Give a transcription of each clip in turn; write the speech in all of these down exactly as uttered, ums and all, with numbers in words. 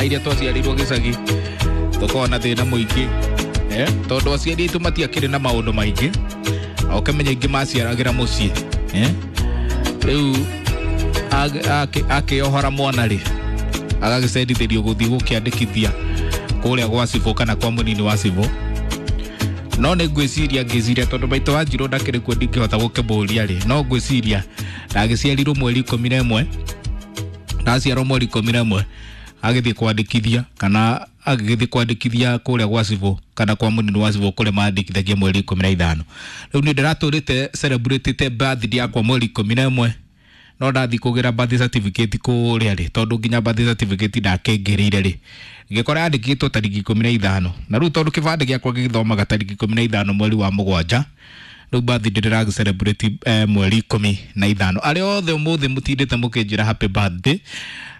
Iria twaciarirwo gĩcagi tũkoragwo na thĩna mũingĩ, eh, tondũ aciari aitũ matiakĩrĩ na maũndũ maingĩ, ũkĩmenya aingĩ maciaragĩra mũciĩ, eh? Rĩu akĩohora mwana rĩ, agagĩcendithĩrio gũthiĩ gũkĩandĩkithia kũrĩa gwa cibũ kana kwa mũnini wa cibũ. No nĩ ngwĩciria ngĩciria tondũ maitũ wa Njirũ ndakĩrĩ kuo ndingĩhota gũkĩmũria rĩ, no ngwĩciria ndagĩciarirwo mweri ikũmi na ĩmwe, ndaciarwo mweri ikũmi na ĩmwe agĩthiĩ kwandĩkithia kana agĩthiĩ kwandĩkithia kũrĩa gwa cibũ kana kwa mũnini wa cibũ kũrĩa mandĩkithagia mweri ikũmi na ithano. Rĩu niĩ ndĩratũrĩte celebrate birthday yakwa mweri ikũmi na ĩmwe, no ndathiĩ kũgĩra birth certificate kũrĩa rĩ, tondũ nginya birth certificate ndakĩngĩrĩire rĩ, ngĩkora yandĩkĩtwo tarĩki ikũmi na ithano, na rĩu tondũ kĩbandĩ gĩakwa gĩgĩthomaga tarĩki ikũmi na ithano mweri wa mũgwanja, rĩu birthday ndĩragĩ celebrate eh, mweri ikũmi na ithano. Arĩa othe ũmũthĩ mũtindĩte mũkĩnjĩra happy birthday,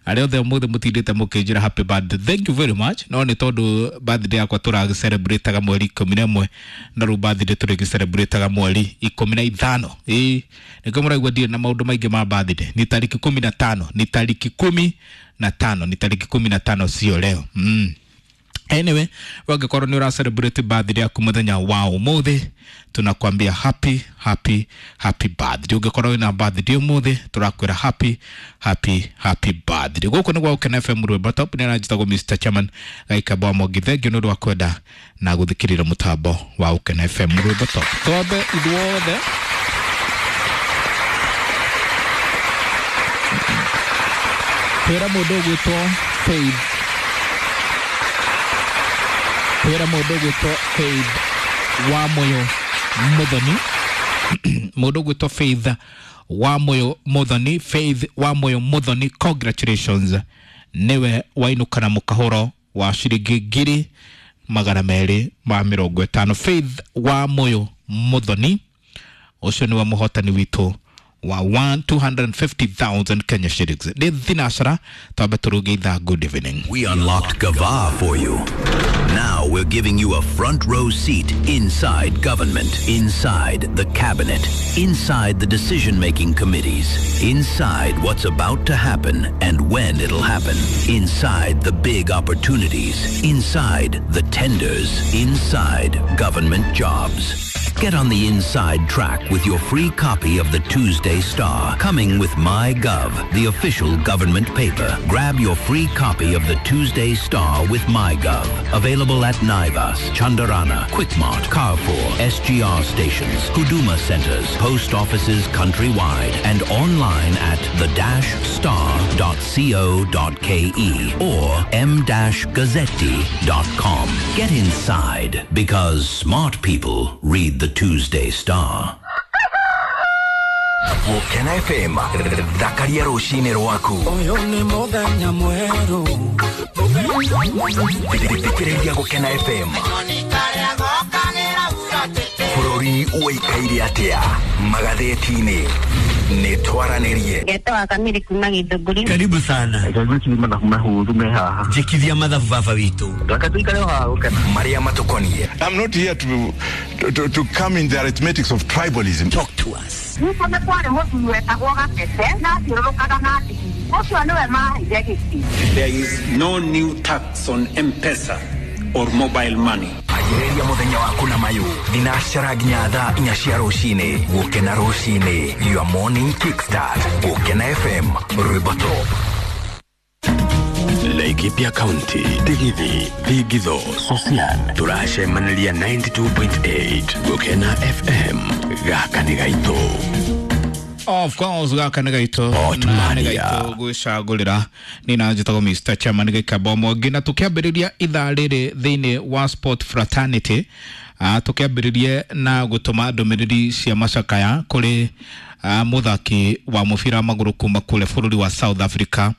arĩa othe ũmũthĩ mũtindĩte mũkĩnjĩra happy birthday, thank you very much. No nĩ tondũ birthday yakwa tũragĩ celebrate mweri ikũmi na ĩmwe, na rĩu birthday tũrĩgĩ celebrate mweri ikũmi na ithano. Ĩĩ nĩkĩo mũraigua ndirĩ na maũndũ maingĩ ma birthday. Ni tarĩki kumi na tano, ni tarĩki kumi na tano, ni tarĩki kumi na tano sio leo. Mm. Anyway, wangĩkorwo nĩ ũra celebrate birthday yaku mũthenya wa ũmũthĩ, tunakwambia happy happy happy birthday. Ũngĩkorwo wĩna birthday ũmũthĩ, tũrakwĩra happy happy happy birthday. Gũkũ nĩ gwa Gũkena F M Rwĩmbo Top, nĩ aranjĩtagwo Mister Chairman Gaikamba wa Mwangi. Thengiũ nĩ ũndũ wa kwenda na gũthikĩrĩria mũtambo wa Gũkena F M Rwĩmbo Top. Twambe ithuothe kwĩra mũndũ ũgwĩtwo Faith, kwĩra mũndũ ũgwĩtwo Faith wa Moyo Muthoni, mũndũ ũgwĩtwo Faith wa Moyo Muthoni, Faith wa Moyo Muthoni, congratulations, niwe wainũka na mũkahũro wa ciringi ngiri magana merĩ ma mĩrongo ĩtano. Faith wa Moyo Muthoni ũcio nĩwe mũhotani witũ wa one two hundred fifty thousand Kenya shillings. Nĩ thinacara twambe tũrũge ithaa. Good evening. We unlocked Gava for you. Now we're giving you a front row seat inside government, inside the cabinet, inside the decision-making committees, inside what's about to happen and when it'll happen, inside the big opportunities, inside the tenders, inside government jobs. Get on the inside track with your free copy of the Tuesday Star, coming with MyGov, the official government paper. Grab your free copy of the Tuesday Star with MyGov. Available at Naivas, Chandarana, Quickmart, Carrefour, S G R stations, Huduma centers, post offices countrywide, and online at the dash star dot co dot ke or m dash gazzetti dot com. Get inside, because smart people read the Tuesday Star. Gũkena F M, thakaria rũcinĩ rwaku. Ũyũ nĩ mũthenya mwerũ. Thikĩrĩria Gũkena F M. Bũrũri ũikaire atĩa magathĩti-inĩ? Nĩ twaranĩrie. Ngetwa Kamiri kuma Githũngũri. Karibu sana. Ngai mathabu mahũthũ me haha. Njĩkithia mathabu baba witũ. Reke tũikare o haha Gũkena. Marĩa matũkoniĩ. I'm not here to, to, to come in the arithmetics of tribalism. Talk to us. Nĩguo nĩ kwarĩ mũthuri wetagwo Gatete na athiũrũrũkaga na ndigiri. Ũcio nĩwe maheire gĩtĩ. There is no new tax on M-Pesa or mobile money. Anjĩrĩria mũthenya waku na mayũ thinacara nginya thaa inya cia rũcinĩ. Gũkena rũcinĩ, your morning kickstart. Gũkena F M, Rwĩmbo Top. Laikipia County, Tigithi, Thigitho, Sosian, tũracemanĩria ninety two point eight Gũkena F M, gaka nĩ gaitũ. Of course, gaka nĩ gaitũ. Na nĩ gaitũ gwĩcagũrĩra. Nĩ na njĩtagwo Mister Chairman Gĩkamba Mwangi, na tũkĩambĩrĩria ithaa rĩrĩ thĩinĩ wa Sport Fraternity, ah, tũkĩambĩrĩrie na gũtũma ndũmĩrĩri cia macakaya kũrĩ, ah, mũthaki wa mũbira wa magũrũ kuma kũrĩa bũrũri wa South Africa,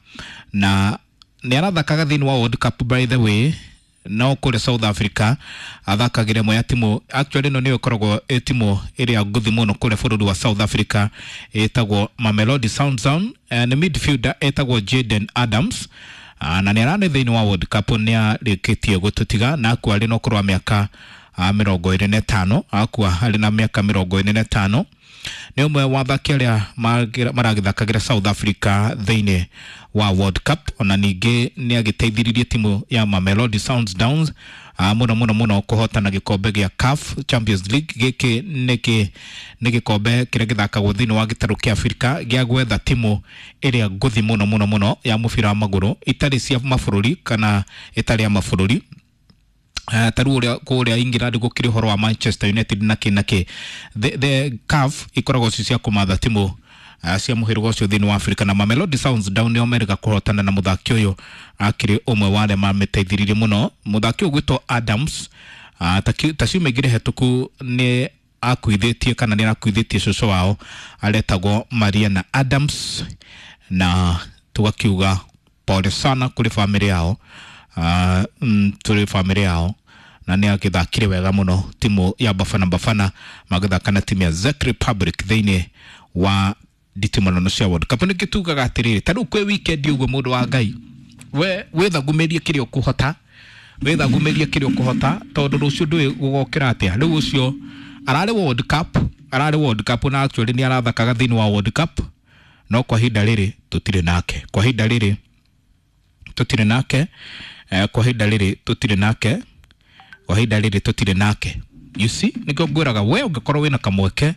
na nĩ arathakaga thĩinĩ wa World Cup by the way, no kũrĩa South Africa athakagĩra ĩmwe ya timu, actually ĩno nĩyo ĩkoragwo ĩ timu ĩrĩa ngũthi mũno kũrĩa bũrũri wa South Africa, ĩtagwo Mamelodi Sundowns. Eh, nĩ midfielder ĩtagwo Jaden Adams. Ah, na nĩ ararĩ thĩinĩ wa World Cup, nĩ arĩkĩtie gũtũtiga na akua arĩ na ũkũrũ wa mĩaka, ah, mĩrongo ĩrĩ na ĩtano, akua arĩ na mĩaka mĩrongo ĩrĩ na ĩtano. Nĩ ũmwe wa athaki arĩa maragĩthakagĩra South Africa thĩinĩ wa World Cup. Ona ningĩ nĩ agĩteithĩrĩirie timu ya Mamelodi Sundowns mũno mũno mũno kũhotana gĩkombe gĩa C A F Champions League. Gĩkĩ nĩ nĩ gĩkombe kĩrĩa gĩthakagwo thĩinĩ wa gĩtarũ kĩa Afrika gĩa gwetha timu ĩrĩa ngũthi mũno mũno mũno ya mũbira wa magũrũ itarĩ cia mabũrũri kana ĩtarĩ ya mabũrũri. Uh, taru uria kuria England gukiri horo wa Manchester United na ki na ki the, the C A F ikoragwo ci cia kumatha timu uh, cia muhĩrĩga ũcio thĩinĩ wa Afrika na Mamelodi Sundowns nĩo merĩga kũhotana na mũthaki ũyũ akĩrĩ ũmwe wa arĩa mamĩteithĩrĩirie mũno. Mũthaki ũyũ gwĩtwo Adams uh, ta ciumia igĩrĩ hetũku nĩ akuithĩtie kana nĩ arakuithĩtie cũcũ wao aretagwo Mariana Adams, na tugakiuga pole sana kũrĩ famĩlĩ yao, uh, mm, tũrĩ famĩlĩ yao, na nĩ agĩthakire wega mũno timu ya Bafana Bafana magĩthaka na timu ya Czech Republic thĩinĩ wa nditimũrano cia World Cup. Nĩkĩ tugaga atĩrĩrĩ, ta rĩu kwĩ weekend ũguo mũndũ wa Ngai we wĩthagumĩrie kĩrĩa ũkũhota, wĩthagumĩrie kĩrĩa ũkũhota tondũ rũciũ ndũĩ gũgokĩra atĩa. Rĩu ũcio ararĩ World Cup, ararĩ World Cup na actually nĩ arathakaga thĩinĩ wa World Cup, no kwa ihinda rĩrĩ tũtirĩ nake, kwa ihinda rĩrĩ tũtirĩ nake, eh, kwa ihinda rĩrĩ tũtirĩ nake, kwa ihinda rĩrĩ tũtirĩ nake. You see, nĩkĩo ngwĩraga we ũngĩkorwo wĩna kamweke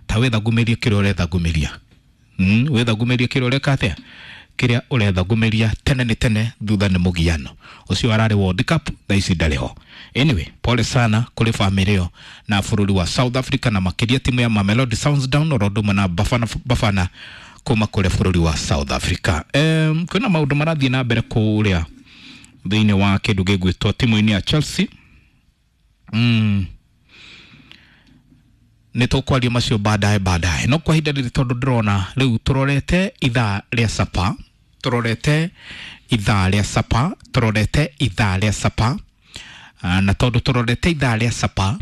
ta wĩthagumĩrie kĩrĩa ũrethagumĩria, mm, wĩthagumĩrie kĩrĩa ũreka atĩa, kĩrĩa ũrethagumĩria tene nĩ tene thutha nĩ mũgiano. Ũcio ararĩ World Cup, thaa ici ndarĩ ho. Anyway, pole sana kũrĩ famĩlĩ ĩyo na bũrũri wa South Africa na makĩria timu ya Mamelodi Sundowns oro ũndũ ũmwe na Bafana Bafana kuma kũrĩ bũrũri wa South Africa. Um, kwĩna maũndũ marathiĩ na mbere kũrĩa thĩinĩ wa kĩndũ gĩgwĩtwo timu-inĩ ya Chelsea. Mm. Nĩ tũkwaria macio baadaye baadaye, no kwa ihinda rĩrĩ tondũ ndĩrona rĩu tũrorete ithaa rĩa sapa, tũrorete ithaa rĩa sapa, tũrorete ithaa rĩa sapa, na tondũ tũrorete ithaa rĩa sapa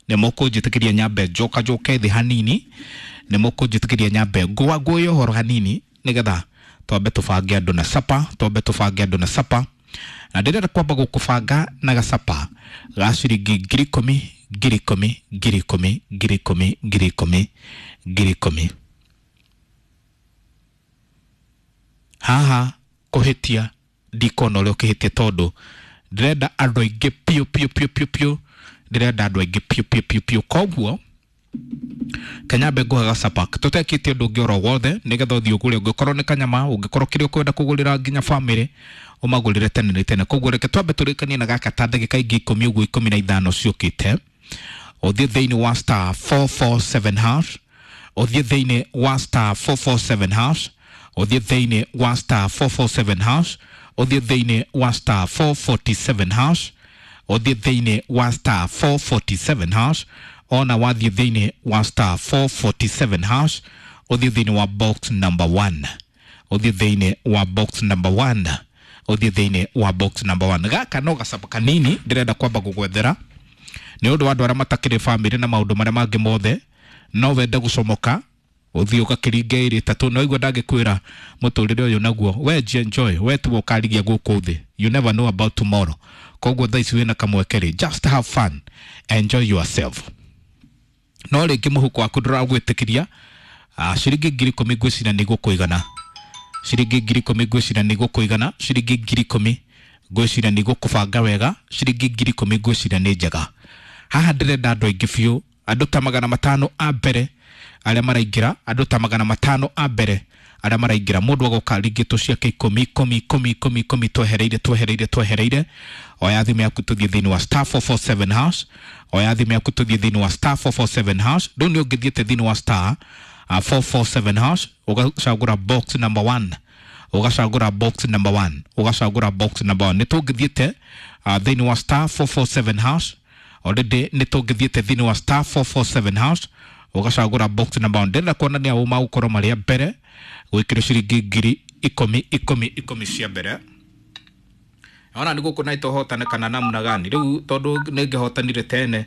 nĩ mũkũnjĩtĩkĩria nyambe njoka njoke thĩ hanini, nĩ mũkũnjĩtĩkĩria nyambe ngũa ngũe ũhoro hanini nĩgetha twambe tũbange andũ na sapa, twambe tũbange andũ na sapa. Na ndĩrenda kwamba gũkũbanga na gacapa ga ciringi ngiri ikũmi ngiri ikũmi ngiri ikũmi ngiri ikũmi ngiri ikũmi ngiri ikũmi. Haha kũhĩtia ndikuona ũrĩa ũkĩhĩtia tondũ ndĩrenda andũ aingĩ piũ piũ piũ piũ piũ, ndĩrenda andũ aingĩ piũ piũ piũ piũ. Koguo kanyambe nguhe gacapa tũtekĩtie ũndũ ũngĩ oro wothe nĩgetha ũthiĩ ũgũre, ũngĩkorwo nĩ kanyama, ũngĩkorwo kĩrĩa ũkwenda kũgũrĩra nginya famĩlĩ ũmagũrĩre tene nĩ tene. Koguo reke twambe tũrĩkanie na gaka ta ndagĩka ingĩ ikũmi ũguo ikũmi na ithano ciũkĩte. Ũthiĩ thĩinĩ wa star four four seven hash, ũthiĩ thĩinĩ wa star four four seven hash, ũthiĩ thĩinĩ wa star four four seven hash, ũthiĩ thĩinĩ wa star four forty-seven hash, ũthiĩ thĩinĩ wa star four forty-seven hash, ona wathiĩ thĩinĩ wa star four forty-seven hash, ũthiĩ thĩinĩ wa box number one, ũthiĩ thĩinĩ wa box number one, ũthiĩ thĩinĩ wa box number one. Gaka no gacapa kanini ndĩrenda kwamba gũgwethera nĩ ũndũ wa andũ arĩa matakĩrĩ famĩlĩ na maũndũ marĩa mangĩ mothe, no wende gũcomoka ũthiĩ ũgakĩringe ĩrĩ ĩtatũ, no igua ndangĩkwĩra mũtũrĩre ũyũ naguo we enjoy, we tu ũkarigia gũkũ thĩ, you never know about tomorrow. Koguo thaa ici wĩna kamweke rĩ, just have fun, enjoy yourself. No rĩngĩ mũhuko waku ndũragwĩtĩkĩria, ciringi ngiri ikũmi ngwĩciria nĩ igũkũigana, ciringi ngiri ikũmi ngwĩciria nĩ igũkũigana, ciringi ngiri ikũmi ngwĩciria nĩ igũkũbanga wega, ciringi ngiri ikũmi ngwĩciria nĩ njega. Haha ndĩrenda andũ aingĩ biũ, andũ ta magana matano a mbere arĩa maraingĩra, andũ ta magana matano a mbere arĩa maraingĩra, mũndũ agoka ringĩtwo ciake ikũmi ikũmi ikũmi ikũmi ikũmi twehereire twehereire twehereire. Oya thimũ yaku tũthiĩ thĩinĩ wa star four four seven hash, oya thimũ yaku tũthiĩ thĩinĩ wa star four four seven hash. Rĩu nĩ ũngĩthiĩte thĩinĩ wa star four four seven hash ũgacagũra box number one, ũgacagũra box number one, ũgacagũra box number one. Nĩ tũngĩthiĩte thĩinĩ wa star four four seven hash already, nĩ tũngĩthiĩte thĩinĩ wa star four four seven hash ũgacagũra box number one. Ndĩrenda kuonania ũ magũkorwo marĩ a mbere gwĩkĩrwo ciringi ngiri ikũmi ikũmi ikũmi cia mbere. Ona nĩ gũkũ na itohotane kana namna gani rĩu tondũ nĩ ngĩhotanire tene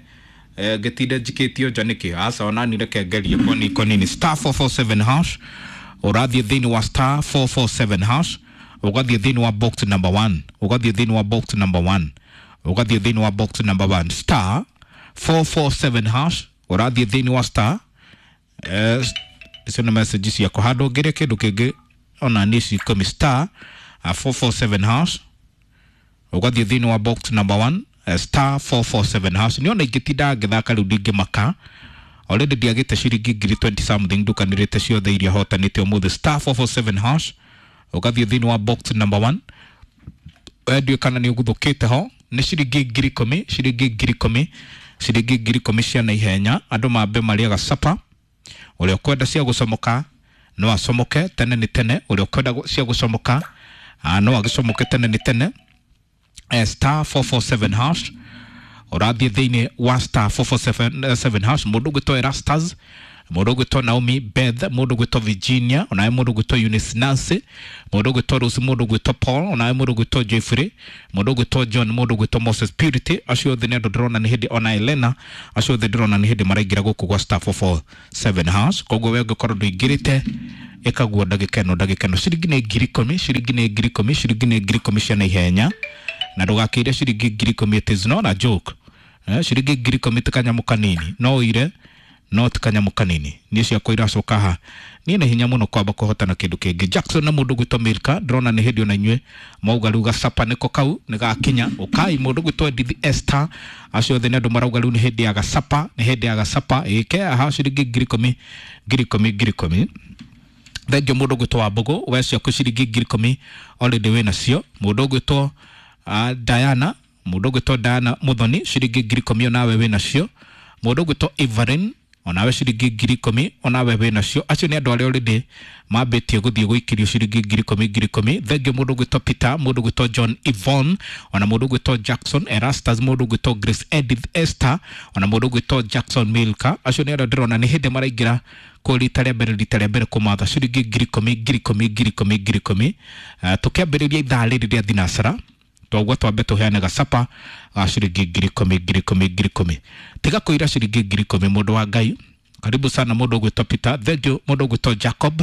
eh, ngĩtinde njikĩtio nja nĩkĩ? Aca ona ni reke ngerie koni konini star four four seven hash, ũrathiĩ thĩinĩ wa star four four seven hash, ũgathiĩ thĩinĩ wa box number one, ũgathiĩ thĩinĩ wa box number one, ũgathiĩ thĩinĩ wa box number one, star four four seven hash, ũrathiĩ thĩinĩ wa star Eh, icio nĩ message ciakwa handũ ngĩrĩa kĩndũ kĩngĩ ona nĩ ici ikũmi star uh, four four seven hash ũgathiĩ thĩinĩ wa box number one uh, star four four seven hash nĩona ingĩtinda ngĩthaka rĩu ndingĩmaka already ndiagĩte ciringi ngiri twenty something ndukanĩrĩte ciothe iria hotanĩte ũmũthĩ star four four seven hash ũgathiĩ thĩinĩ wa box number one ndiũĩ kana nĩ ũguthũkĩte ho nĩ ciringi ngiri ikũmi ciringi ngiri ikũmi ciringi ngiri ikũmi cia naihenya andũ mambe marĩaga sapa ũrĩa ũkwenda cia gũcomoka no acomoke tene nĩ tene ũrĩa ũkwenda cia gũcomoka no agĩcomoke tene nĩ tene eh, star four four seven hash ũrathiĩ thĩinĩ wa star four four seven hash mũndũ ũgwĩtwo Erastus mũndũ ũgwĩtwo Naomi Beth mũndũ ũgwĩtwo Virginia onawe mũndũ ũgwĩtwo Eunice Nancy mũndũ ũgwĩtwo Rose mũndũ ũgwĩtwo Paul onawe mũndũ ũgwĩtwo Jeffrey mũndũ ũgwĩtwo John mũndũ ũgwĩtwo Moses Purity acio othe nĩ andũ ndĩrona nĩ hĩndĩ ona Elena acio othe ndĩrona nĩ hĩndĩ maraingĩra gũkũ gwa star four four seven hash koguo we ũngĩkorwo ndũingĩrĩte ĩkaguo ndagĩka ĩno ndagĩka ĩno ciringi nĩ ngiri ikũmi ciringi nĩ ngiri ikũmi ciringi nĩ ngiri ikũmi cia naihenya na ndũgakĩire ciringi ngiri ikũmi it is not a joke eh, ciringi ngiri ikũmi ti kanyamũ kanini no ũire no ti kanyamũ kanini niĩ ciakwa iracoka haha niĩ nĩ hinya mũno kwamba kũhotana kĩndũ kĩngĩ Jackson na mũndũ gwĩtwo Milka ndĩrona nĩ hĩndĩ ona inyuĩ mauga rĩu gacapa nĩko kau nĩ gakinya ũkai mũndũ gwĩtwo Edith Esther acio othe nĩ andũ marauga rĩu nĩ hĩndĩ ya gacapa nĩ hĩndĩ ya gacapa ĩke aha ciringi ngiri ikũmi ngiri ikũmi ngiri ikũmi thengio mũndũ gwĩtwo Wambũgũ we ciaku ciringi ngiri ikũmi already wĩ nacio mũndũ gwĩtwo uh, Diana mũndũ gwĩtwo Diana Muthoni ciringi ngiri ikũmi onawe wĩ nacio mũndũ gwĩtwo Evelyn onawe ciringi ngiri ikũmi onawe wĩ nacio acio nĩ andũ arĩa already mambĩtie gũthiĩ gũikĩrio ciringi ngiri ikũmi ngiri ikũmi thengio mũndũ gwĩtwo Peter mũndũ gwĩtwo John Yvonne ona mũndũ gwĩtwo Jackson Erastus mũndũ gwĩtwo Grace Edith Esther ona mũndũ gwĩtwo Jackson Milka acio nĩ andũ ndĩrona nĩ hĩndĩ maraingĩra kũ rita rĩa mbere rita rĩa mbere kũmatha ciringi ngiri ikũmi ngiri ikũmi ngiri ikũmi ngiri ikũmi uh, tũkĩambĩrĩria ithaa rĩrĩ rĩa thinacara twaguo twambe tũheane gacapa ga ciringi ngiri ikũmi ngiri ikũmi ngiri ikũmi tiga kũira ciringi ngiri ikũmi mũndũ wa Ngai karibu sana mũndũ ũgwĩtwo Peter thengio mũndũ ũgwĩtwo Jacob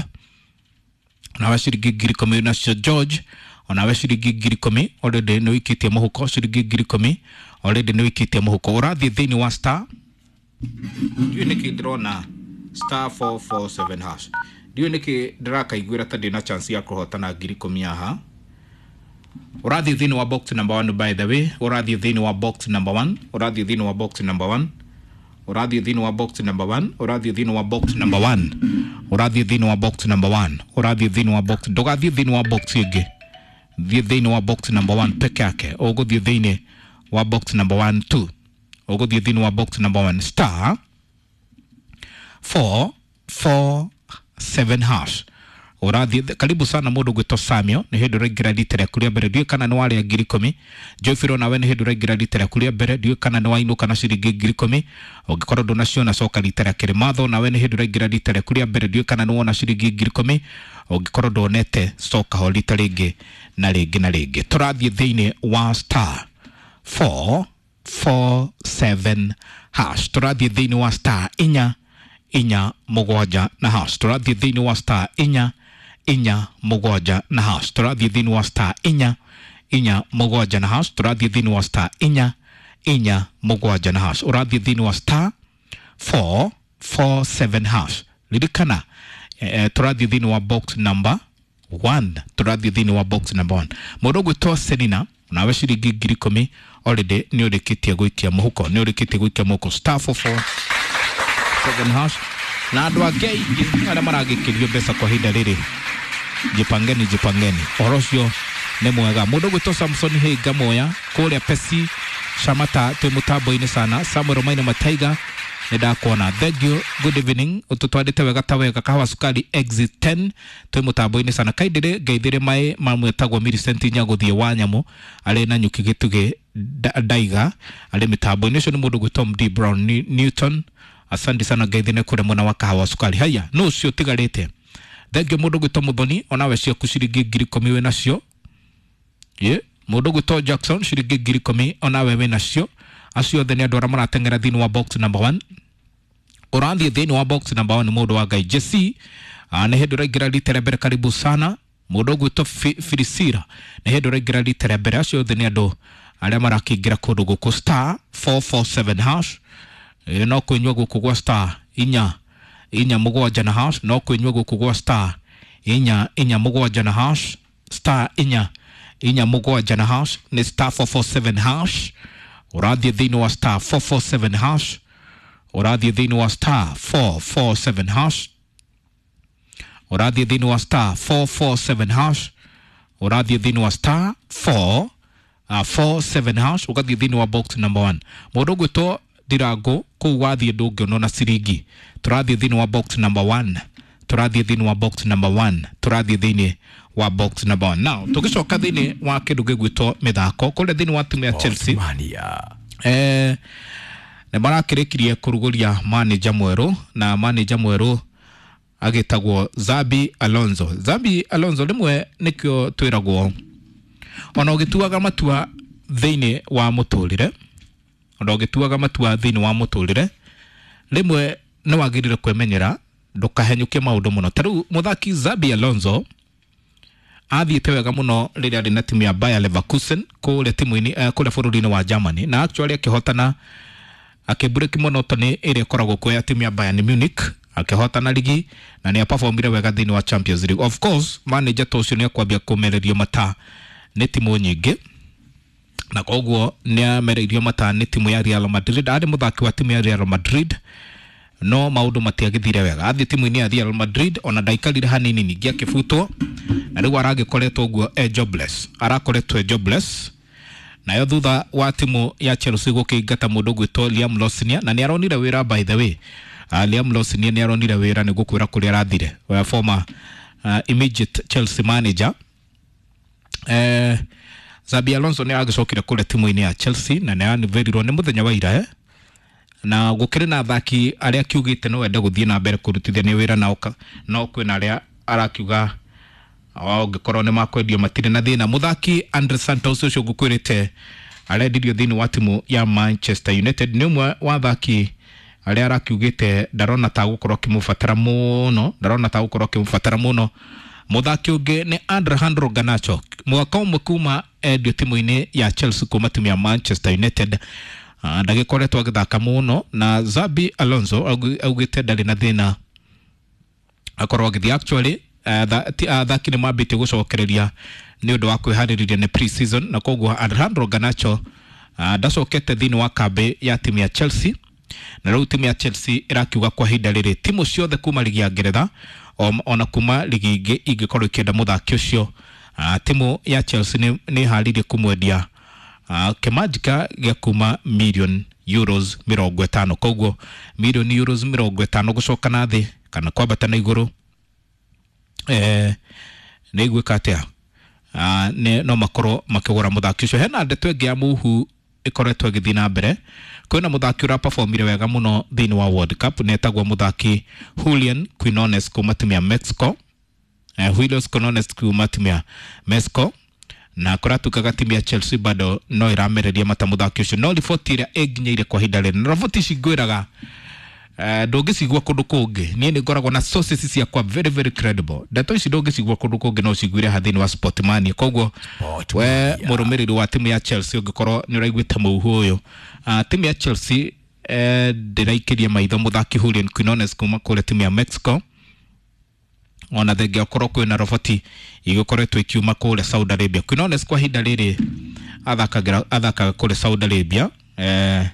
onawe ciringi ngiri ikũmi nacio George onawe ciringi ngiri ikũmi already nĩ ũikĩtie mũhuko ciringi ngiri ikũmi already nĩ ũikĩtie mũhuko ũrathiĩ thĩinĩ wa star ndiũĩ nĩkĩ ndĩrona star four four seven hash ndiũĩ nĩkĩ ndĩrakaiguĩra ta ndĩna chance ya kũhotana ngiri ikũmi haha ũrathiĩ thĩinĩ wa box number one by the way ũrathiĩ thĩinĩ wa box number one ũrathiĩ thĩinĩ wa box number one ũrathiĩ thĩinĩ wa box number one ũrathiĩ thĩinĩ wa box number one ũrathiĩ thĩinĩ wa box number one ũrathiĩ thĩinĩ wa box ndũgathiĩ thĩinĩ wa box ĩngĩ thiĩ thĩinĩ wa box number one peke yake ũgũthiĩ thĩinĩ wa box number one two ũgũthiĩ thĩinĩ wa box number one star four four seven hash ũrathiĩ karibu sana mũndũ gwĩtwo Samuel nĩ hĩndĩ ũraingĩra rita rĩaku rĩa mbere ndiũĩ kana nĩ warĩa ngiri ikũmi Geoffrey onawe nĩ hĩndĩ ũraingĩra rita rĩaku rĩa mbere ndiũĩ kana nĩ wainũka na ciringi ngiri ikũmi ũngĩkorwo ndũnaciona coka rita rĩa kerĩ Matho onawe nĩ hĩndĩ ũraingĩra rita rĩaku rĩa mbere ndiũĩ kana nĩ wona ciringi ngiri ikũmi ũngĩkorwo ndwonete coka ho rita rĩngĩ na rĩngĩ na rĩngĩ tũrathiĩ thĩinĩ wa star four four seven hash tũrathiĩ thĩinĩ wa star inya inya mũgwanja na hash tũrathiĩ thĩinĩ wa star inya inya mũgwanja na hash tũrathiĩ thĩinĩ wa star inya inya mũgwanja na hash tũrathiĩ thĩinĩ wa star inya inya mũgwanja na hash ũrathiĩ thĩinĩ wa star four four seven hash ririkana eh, tũrathiĩ thĩinĩ wa box number one tũrathiĩ thĩinĩ wa box number one mũndũ ũgwĩtwo Selina nawe ciringi ngiri ikũmi already nĩ ũrĩkĩtie gũikia mũhuko nĩ ũrĩkĩtie gũikia mũhuko star four four seven hash na andũ angĩ aingĩ arĩa maragĩkĩrio mbeca kwa ihinda rĩrĩ jipangeni jipangeni ũhoro ũcio nĩ mwega mũndũ ũgwĩtwo Samson Hinga Moya kũrĩa Pesi Shamata twĩ mũtambo-inĩ sana Samuel Maina Mataiga nĩ ndakuona thank you good evening ũtũtwarĩte wega ta wega kahawa sukari exit ten twĩ mũtambo-inĩ sana kaindĩrĩ ngeithĩrĩ maĩ mamwetagwo Millicent Nyagũthiĩ wa nyamũ arĩ na nyuki gĩtugĩ ndaiga arĩ mĩtambo-inĩ ũcio nĩ mũndũ ũgwĩtwo M D Brown Newton asante sana ngeithĩrĩ kũrĩa mwena wa kahawa sukari haya no ũcio ũtigarĩte thengio mũndũ ũgwĩtwo Muthoni onawe ciaku ciringi ngiri ikũmi wĩ nacio ye mũndũ ũgwĩtwo Jackson ciringi ngiri ikũmi onawe wĩ nacio acio othe nĩ andũ arĩa marateng'era thĩinĩ wa box number one ũrathiĩ thĩinĩ wa box number one mũndũ wa Ngai Jesse nĩ hĩndĩ ũraingĩra rita rĩa mbere karibu sana mũndũ ũgwĩtwo Filisira nĩ hĩndĩ ũraingĩra rita rĩa mbere acio othe nĩ andũ arĩa marakĩingĩra kũndũ gũkũ star four four seven hash no kũnyua gũkũ gwa star inya inya mũgwanja na hash. No kwĩnyua gũkũ gwa star inya inya mũgwanja na hash, star inya inya mũgwanja na hash nĩ star four four seven hash. Ũrathiĩ thĩinĩ wa star four four seven hash, ũrathiĩ thĩinĩ wa star four four seven hash, ũrathiĩ thĩinĩ wa star four four seven hash, ũrathiĩ thĩinĩ wa star four uh, four seven hash, ũgathiĩ thĩinĩ wa box number one. Mũndũ ũgwĩtwo Ndirango kũu wathiĩ ndũngĩonwo na ciringi. Tũrathiĩ thĩinĩ wa box number one, tũrathiĩ thĩinĩ wa box number one, tũrathiĩ thĩinĩ wa box number one. Now tũgĩcoka thĩinĩ wa kĩndũ gĩgwĩtwo mĩthako kũrĩa thĩinĩ wa timu ya Chelsea, eh, nĩ marakĩrĩkirie kũrugũria manager mwerũ, na manager mwerũ agĩtagwo Xabi Alonso. Xabi Alonso rĩmwe nĩkĩo twĩragwo ona ũgĩtuaga matua thĩinĩ wa mũtũrĩre, ona ũgĩtuaga matua thĩinĩ wa mũtũrĩre rĩmwe nĩ wagĩrĩire kwĩmenyera ndũkahenyũkie maũndũ mũno. Ta rĩu mũthaki Xabi Alonso athiĩte wega mũno rĩrĩa arĩ na timu ya Bayer Leverkusen kũrĩa timu-inĩ eh, kũrĩa bũrũri-inĩ wa Germany, na actually akĩhotana akĩbreki monotony ĩrĩa ĩkoragwo kuo ya timu ya Bayern Munich, akĩhotana ligi na nĩ aperformire wega thĩinĩ wa Champions League. Of course manager ta ũcio nĩ akwambia kũmererio mata nĩ timu nyingĩ, na koguo nĩ amereirio mata nĩ timu ya Real Madrid. Arĩ mũthaki wa timu ya Real Madrid no maũndũ matiagĩthire wega. Athiĩ timu-inĩ ya Real Madrid ona ndaikarire hanini ningĩ akĩbutwo, na rĩu aragĩkoretwo ũguo e jobless, arakoretwo e jobless. Nayo thutha wa timu ya Chelsea gũkĩingata mũndũ ũgwĩtwo Liam Rosenior, na nĩ aronire wĩra by the way. Uh, Liam Rosenior nĩ aronire wĩra, nĩ gũkwĩra kũrĩa arathire, wa former uh, immediate Chelsea manager. Eh, Xabi Alonso nĩ aragĩcokire kũrĩa timu-inĩ ya Chelsea na nĩ aniverirwo nĩ mũthenya wa ira eh? Na gũkĩrĩ na athaki arĩa akiugĩte no ende gũthiĩ na mbere kũrutithania wĩra nao, no kwĩna arĩa arakiuga ũngĩkorwo nĩ makwendio matirĩ na thĩna. Mũthaki Andre Santos ũcio ngũkwĩrĩte arendirio thĩinĩ wa timu ya Manchester United, nĩ ũmwe wa athaki arĩa arakiugĩte ndarona ta gũkorwo akĩmũbatara mũno, ndarona ta gũkorwo akĩmũbatara mũno. Mũthaki ũngĩ nĩ Alejandro Garnacho, mwaka ũmwe kuma endio timu-inĩ ya Chelsea kuma timu ya Manchester United, ndagĩkoretwo agĩthaka mũno, na Xabi Alonso augĩte ndarĩ na thĩna akorwo agĩthiĩ. Actually athaki nĩ mambĩtie gũcokereria nĩ ũndũ wa kwĩharĩrĩria nĩ pre-season, na koguo Alejandro Garnacho ndacokete thĩinĩ wa kambĩ ya timu ya Chelsea. Na rĩu timu ya Chelsea ĩrakiuga kwa ihinda rĩrĩ timu ciothe kuma ligi ya Ngeretha ona kuma ligi ingĩ ingĩkorwo ikĩenda mũthaki ũcio, timu ya Chelsea nĩ ĩharĩirie kũmwendia kĩmanjika gĩa kuma million euros mĩrongo ĩtano. Koguo million euros mĩrongo ĩtano gũcoka na thĩ kana kwambata na igũrũ eh, nĩ igwĩka atĩa, nĩ no makorwo makĩgũra mũthaki ũcio. Hena ndeto ĩngĩ ya mũhu ĩkoretwo ĩgĩthiĩ na mbere. Kwĩna mũthaki ũraperformire wega mũno thĩinĩ wa World Cup, nĩ etagwo mũthaki Julian Quinones kuma timu ya Mexico. Eh, Julian Quinones kuma timu ya Mexico, na kũratuĩkaga timu ya Chelsea bado no ĩramereria mata mũthaki ũcio. No riboti ĩrĩa ĩnginyĩire kwa ihinda rĩrĩ, na riboti ici ngwĩraga ndũngĩcigua kũndũ kũngĩ, niĩ nĩ ngoragwo na sources ciakwa very very credible. Ndeto ici ndũngĩcigua kũndũ kũngĩ, no ũciguire ha thĩinĩ wa Sportmania. Koguo we mũrũmĩrĩri wa timu ya Chelsea ũngĩkorwo nĩ ũraiguĩte mũhuhu ũyũ, timu ya Chelsea ndĩraikĩria maitho mũthaki Julian Quinones kuma kũrĩa timu ya Mexico, ona thengia okorwo kwĩna roboti igĩkoretwo ikiuma kũrĩa Saudi Arabia. Quinones kwa ihinda rĩrĩ athakagĩra athakaga kũrĩa Saudi Arabia, eh,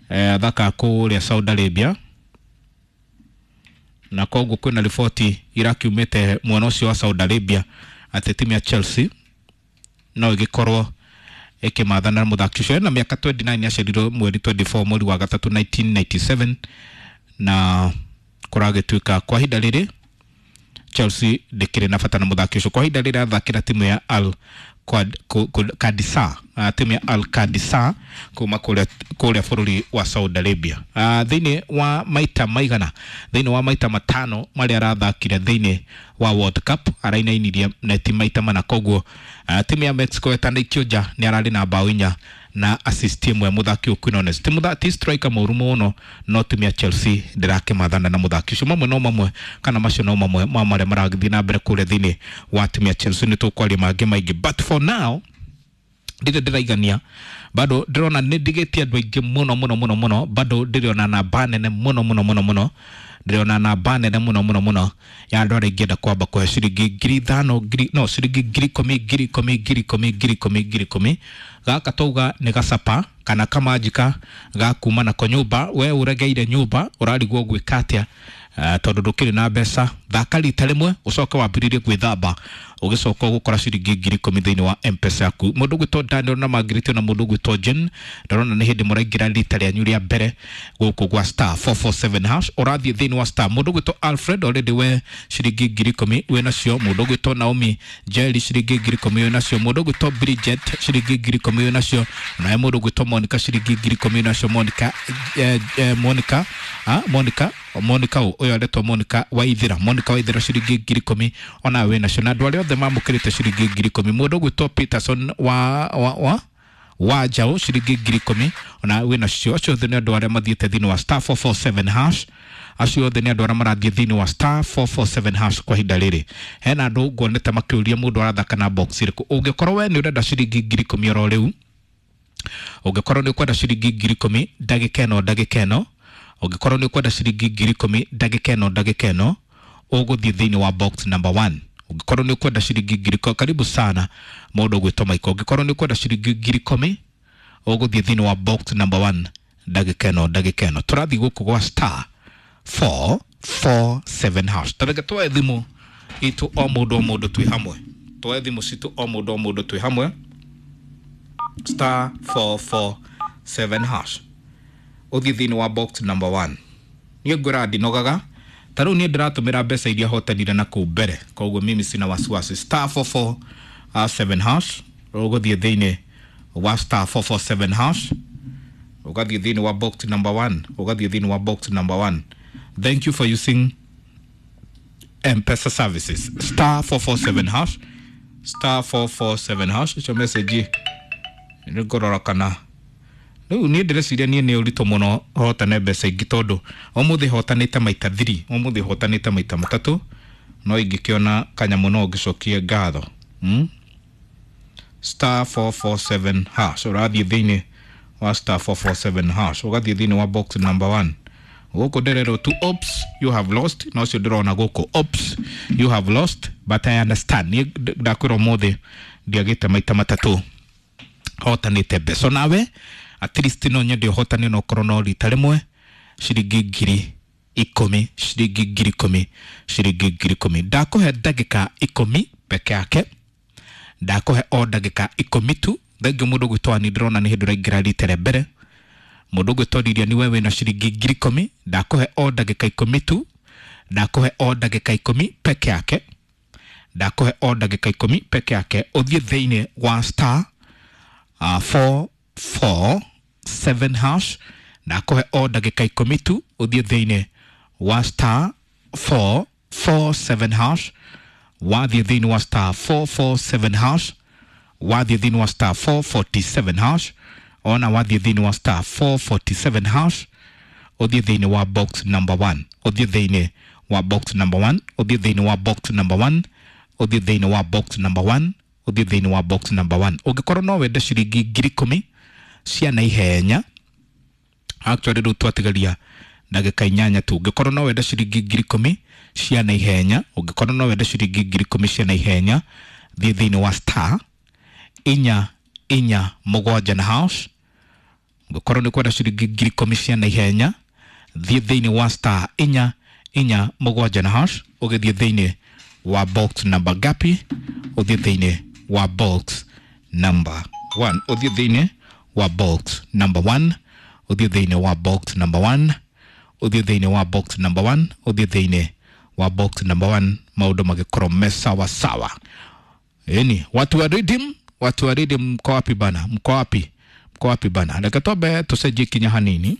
eh, athakaga kũrĩa Saudi Arabia, na koguo kwĩna riboti irakiumĩte mwena ũcio wa Saudi Arabia atĩ timu ya Chelsea no ĩgĩkorwo ĩkĩmathana mũthaki ũcio. Ena mĩaka twenty-nine, aciarirwo mweri twenty-four mweri wa gatatũ nineteen ninety-seven, na kũragĩtuĩka kwa ihinda rĩrĩ Chelsea ndĩkĩrĩ na bata na mũthaki ũcio. Kwa ihinda rĩrĩ athakĩra timu ya Al Qadisiyah, timu ya Al Qadisiyah kuma kũrĩa kũrĩa bũrũri wa Saudi Arabia. Thĩinĩ wa maita maigana, thĩinĩ wa maita matano marĩa arathakire thĩinĩ wa World Cup arainainirie neti maita mana. Koguo timu ya Mexico ĩtanaikio nja nĩ ararĩ na bao inya na assist ĩmwe mũthaki ũyũ Quinones. Ti mũthaki ti striker mũru mũno, no timu ya Chelsea ndĩrakĩmathana na mũthaki ũcio. Mamwe no mamwe kana macio no mamwe ma marĩa maragĩthiĩ na mbere kũrĩa thĩinĩ wa timu ya Chelsea. Nĩ tũkwaria mangĩ maingĩ, but for now Ndirĩ ndĩraigania, bado ndĩrona nĩ ndigĩtie andũ aingĩ mũno mũno mũno mũno, bado ndĩrona namba nene mũno mũno mũno mũno, ndĩrona namba nene mũno mũno mũno ya andũ arĩa ingĩenda kwamba kũhe ciringi ngiri ithano, ngiri no ciringi ngiri ikũmi, ngiri ikũmi, ngiri ikũmi, ngiri ikũmi, ngiri ikũmi. Gaka twauga nĩ gacapa kana kamanjika ga kuma nako nyũmba. We ũregeire nyũmba ũrarigwo gwĩka atĩa, uh, tondũ ndũkĩrĩ na mbeca. Thaka rita rĩmwe ũcoke wambĩrĩrie gwĩthamba, ũgĩcoka ũgũkora ciringi ngiri ikũmi thĩinĩ wa M-Pesa yaku. Mũndũ ũgwĩtwo Daniel na Margaret na mũndũ ũgwĩtwo Jane, ndarona nĩ hĩndĩ mũraingĩra rita rĩanyu rĩa mbere gũkũ gwa star four four seven hash. Ũrathiĩ thĩinĩ wa star. Mũndũ ũgwĩtwo Alfred already we ciringi ngiri ikũmi wĩ nacio. Mũndũ ũgwĩtwo Naomi Jerry ciringi ngiri ikũmi wĩ nacio. Mũndũ ũgwĩtwo Bridget ciringi ngiri ikũmi wĩ nacio. Naye mũndũ ũgwĩtwo Monica ciringi ngiri ikũmi wĩ nacio. Monica eh, eh, Monica ah, Monica Monica ũyũ aretwo Monica Waithira, Monica Waithira ciringi ngiri ikũmi ona wĩ nacio. Na andũ arĩa othe mamũkĩrĩte ciringi ngiri ikũmi. Mũndũ ũgwĩtwo Peterson wa wa wa wa Njaũ ciringi ngiri ikũmi ona wĩ nacio. Acio othe nĩ andũ arĩa mathiĩte thĩinĩ wa star four four seven hash. Acio othe nĩ andũ arĩa marathiĩ thĩinĩ wa star four four seven hash kwa ihinda rĩrĩ. Hena andũ nguonete makĩũria mũndũ arathaka na box ĩrĩkũ. Ũngĩkorwo we nĩ ũrenda ciringi ngiri ikũmi oro rĩu, ũngĩkorwo nĩ ũkwenda ciringi ngiri ikũmi ndagĩka ĩno ndagĩka ĩno, ũngĩkorwo nĩ ũkwenda ciringi ngiri ikũmi ndagĩka ĩno ndagĩka ĩno, ũgũthiĩ thĩinĩ wa box number one. Ũngĩkorwo nĩ ũkwenda ciringi ngiri ikũmi, karibu sana mũndũ ũgwĩtwo Michael. Ũngĩkorwo nĩ ũkwenda ciringi ngiri ikũmi, ũgũthiĩ thĩinĩ wa box number one ndagĩka ĩno ndagĩka ĩno. Tũrathiĩ gũkũ gwa star four four seven hash. Tareke tuoe thimũ itũ o mũndũ o mũndũ twĩ hamwe, tuoe thimũ citũ o mũndũ o mũndũ twĩ hamwe. Star four four seven hash, ũthiĩ thĩinĩ wa box number one. Niĩ ngwĩra ndinogaga, ta rĩu niĩ ndĩratũmĩra mbeca iria hotanire na kũu mbere, koguo mimi sina wasiwasi. Star four four seven hash, ũgũthiĩ thĩinĩ wa star four four seven hash, ũgathiĩ thĩinĩ wa box number one, ũgathiĩ thĩinĩ wa box number one. Thank you for using M-Pesa services. Star four four seven hash, star four four seven hash. Icio message nĩ ngũrora kana rĩu niĩ ndĩreciria niĩ nĩ ũritũ mũno hotane mbeca ingĩ, tondũ ũmũthĩ hotanĩte maita thiri, ũmũthĩ hotanĩte maita matatũ, no ingĩkĩona kanyamũ no ngĩcokie ngatho. hmm? Star four four seven hash, ũrathiĩ thĩinĩ wa star four four seven hash, ũgathiĩ thĩinĩ wa box number one. Gũkũ ndĩrerwo tu oops you have lost, no ũcio ndĩrona gũkũ oops you have lost, but I understand. Niĩ ndakwĩra ũmũthĩ ndiagĩte maita matatũ hotanĩte mbeca. Nawe at least no nyende ũhotane no ũkorwo no rita rĩmwe ciringi ngiri ikũmi, ciringi ngiri ikũmi, ciringi ngiri ikũmi. Ndakũhe ndagĩka ikũmi peke yake, ndakũhe o ndagĩka ikũmi tu. Thengiũ mũndũ ũgwĩtwo Ani, ndĩrona nĩ hĩndĩ ũraingĩra rita rĩa mbere. Mũndũ ũgwĩtwo Lilian, we wĩna ciringi ngiri ikũmi, ndakũhe o ndagĩka ikũmi tu, ndakũhe o ndagĩka ikũmi peke yake, ndakũhe o ndagĩka ikũmi peke yake. Ũthiĩ thĩinĩ wa star uh, four four seven hash, ndakũhe o ndagĩka ikũmi tu. Ũthiĩ thĩinĩ wa star four four seven hash, wathiĩ thĩinĩ wa star four four seven hash, wathiĩ thĩinĩ wa star four forty-seven hash, ona wathiĩ thĩinĩ wa star four forty-seven hash, ũthiĩ thĩinĩ wa box number one, ũthiĩ thĩinĩ wa box number one, ũthiĩ thĩinĩ wa box number one, ũthiĩ thĩinĩ wa box number one, ũthiĩ thĩinĩ wa box number one. Ũngĩkorwo no wende ciringi ngiri ikũmi cia naihenya, actually rĩu twatigaria ndagĩka inyanya tu. Ũngĩkorwo no wende ciringi ngiri ikũmi cia naihenya, ũngĩkorwo no wende ciringi ngiri ikũmi cia naihenya, thiĩ thĩinĩ wa star inya inya mũgwanja na hash. Ũngĩkorwo nĩ ũkwenda ciringi ngiri ikũmi cia naihenya, thiĩ thĩinĩ wa star inya inya mũgwanja na hash, ũgĩthiĩ thĩinĩ wa box number gapi, ũthiĩ thĩinĩ wa box number one, ũthiĩ thĩinĩ wa box number one, ũthiĩ thĩinĩ wa box number one, ũthiĩ thĩinĩ wa box number one, ũthiĩ thĩinĩ wa box number one. Maũndũ magĩkorwo me sawa sawa. Eni watu wa Redeem, watu wa Redeem, mko wapi bana? Mko wapi? Mko wapi bana? Reke twambe tũcenjie kinya hanini.